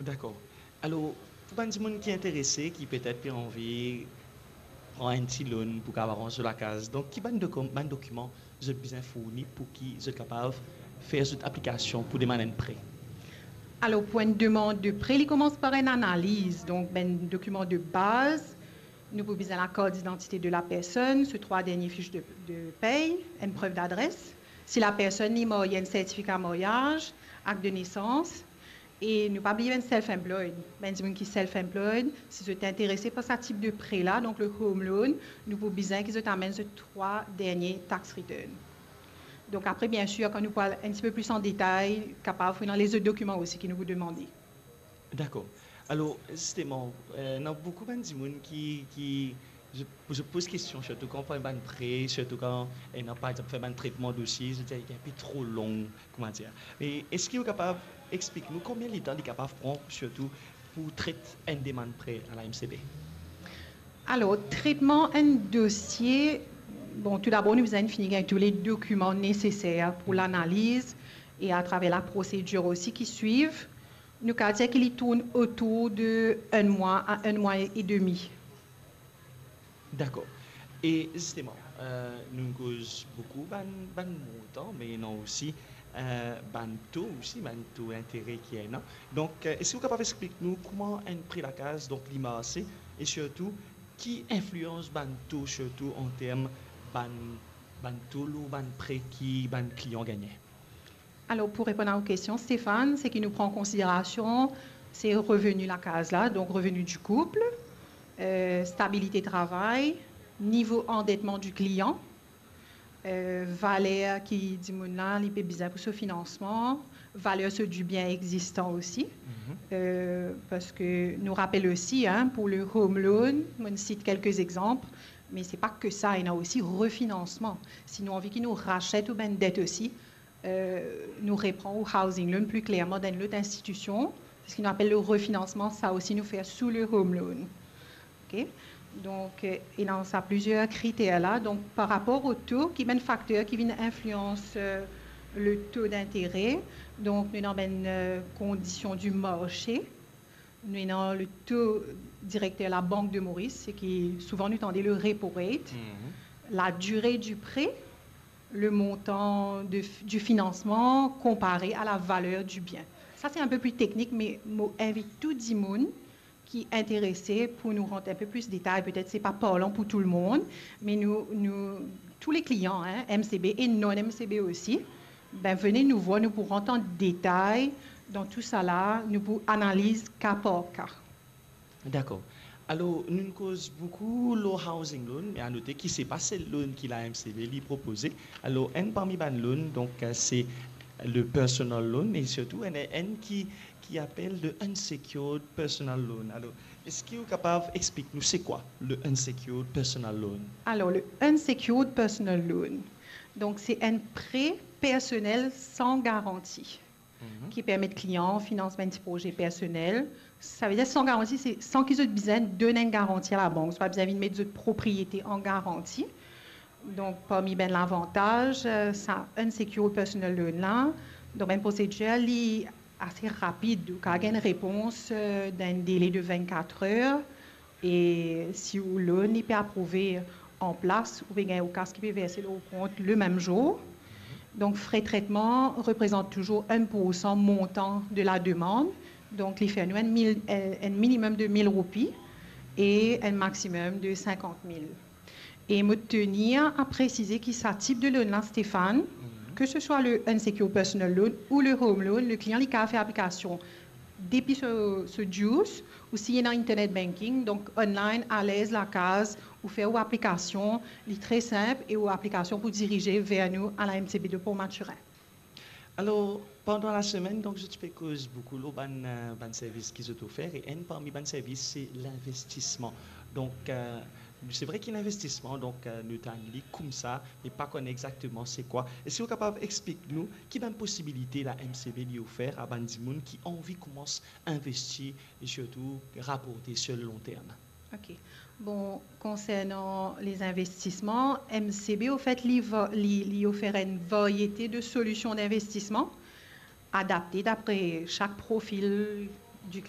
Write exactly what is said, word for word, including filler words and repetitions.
Dakor. Alor, pou bann dimoun ki interese, ki petet pe anvi pran enn ti loan pou kapav ranz so lakaz, donk ki bann dokom-, bann dokiman zot bizin fourni pou ki zot kapav fer zot aplikasion pou demann enn pre? Alor, pou enn demann de pre, li koumans par enn analiz. Donk, bann dokiman de baz, nou pou bizin lakart didantite de la personn, so trwa dernie fich de, de pey, enn prev dadres. Si la personn li marye, enn sertifika maryaz, akt de nesans, e nou pa bliye bann self-employed. Bann dimoun ki self-employed, si zot interese par sa tip de pre la, donk le home loan, nou pou bizin ki zot amenn zot trwa dernie tax return. Donk apre, biensir, kan nou pou al enn tipe plis an detay, kapav pou ena lezot dokiman osi ki nou pou demande. Dakor. Alor, zisteman, eh, ena boukou bann dimoun ki, ki, zot, zot poz kestion, sirtou kan pran bann pre, sirtou kan, eh, ena, par exanp, fer bann tretman dosie, zot dir li enpe tro long, koumadir. Me eski ou kapav explik nou konbien letan li kapav pran, sirtou pou tret enn demann pre a la M C B? Alor, tretman enn dosie, bon, toudabor, nou bizin fini gagn tou le dokiman neseser pou lanaliz e atraver la prosedir osi ki swiv. Nou kapav dir ki li tourn otour de enn mwa a enn mwa e demi. Dakor. E zisteman, eh, nou koz boukou bann, bann montan, me ena osi, eh, bann to osi, bann to intere ki ena. Donk, eh, eski ou kapav explik nou kouma enn pre lakaz, donk, li marse, e sirtou, ki inflians bann to, sirtou an term bann, bann to lor bann pre ki bann klian gagne? Alor, pou reponn a ou kestion, Stéphane, seki nou pran an konsiderasion, se reveni lakaz la, donk reveni di koup, eh, stabilite travay, nivo andetman di klian, eh, valer ki dimoun la, li pe bizin pou so finansman, valer so dibien egzistan osi, eh, parski nou rapel osi, hein, pou le home loan, mo sit kelke exanp, me se pa ke sa, ena osi refinansman. Si nou anvi ki nou raset ou bann det osi, eh, nou repran ou housing loan pli klerman dan enn lot institision, seki nou apel le refinansman, sa osi nou fer sou le home loan. Ok? Donk, eh, ena sa plizier kriter la. Donk, par rapor o to, ki bann fakter ki vinn inflians, eh, le to dintere? Donk, nou ena bann, eh, kondision di marse, nou ena le to direkter Labank de Moris, seki souvan nou tande le repo rate, la dire di pre, le montan de, di finansman konpare a la valer di bien. Sa se enpe pli teknik, me mo invit tou dimoun ki interese pou nou rant enpe plis detay. Petet se pa parlan pou tou lemonn, me nou, nou, tou le klian, hein, M C B e non M C B osi, ben, vene nou vwar, nou pou rant an detay dan tou sa la, nou pou analiz ka par ka. Dakor. Alor, nou koz boukou lor housing loan, me a note ki se pa sel loan ki la M C B li propoze. Alor, enn parmi bann loan, donk, eh, se le personal loan, e sirtou enn, enn ki, ki apel le unsecured personal loan. Alor, eski ou kapav explik nou se kwa le unsecured personal loan? Alor, le unsecured personal loan, donk, se enn pre personel san garanti ki permet klian finans bann ti proze personel. Savedir san garanti, se san ki zot bizin donn enn garanti a labank. Zot pa bizin vinn met zot propriete an garanti. Donk, parmi bann lavantaz, eh, sa unsecured personal loan la, donk, bann prosedir, li ase rapid. Ou kapav gagn repons, eh, dan enn dele de vennkat er. E si ou loan li pe aprouve an plas, ou pe gagn ou kas ki pe verse lor ou kont le mem zour. Donk, fre tretman reprezant touzour enn poursan montan de la demann. Donk, li fer nou enn mil, eh, enn minimem de mil roupi e enn maximem de sinkant mil. E mo tenir a presize ki sa tip de loan la, Stéphane, ke se swa le unsecured personal loan ou le home loan, le klian li kapav fer aplikasion depi so, so Juice, ou si ena internet banking, donk online, alez lakaz, ou fer ou aplikasion, li tre sinp, e ou aplikasion pou dirize ver nou a la M C B de Port Mathurin. Alor, pandan lasemenn, donk, zot ti pe koz boukou lor bann, eh, bann servis ki zot ofer, e enn parmi bann servis, se linvestisman. Donk, eh, se vre ki linvestisman, donk, eh, nou tann li koumsa, me pa konn exakteman se kwa. Eski ou kapav explik nou ki bann posibilite la M C B li ofer a bann dimoun ki anvi koumans investi e sirtou raporte sur le long terme? Ok. Bon, konsernan les investissements, M C B, au fait, li va-, li, li ofer enn variete de solution d'investissement adapte dapre sak profil du climat.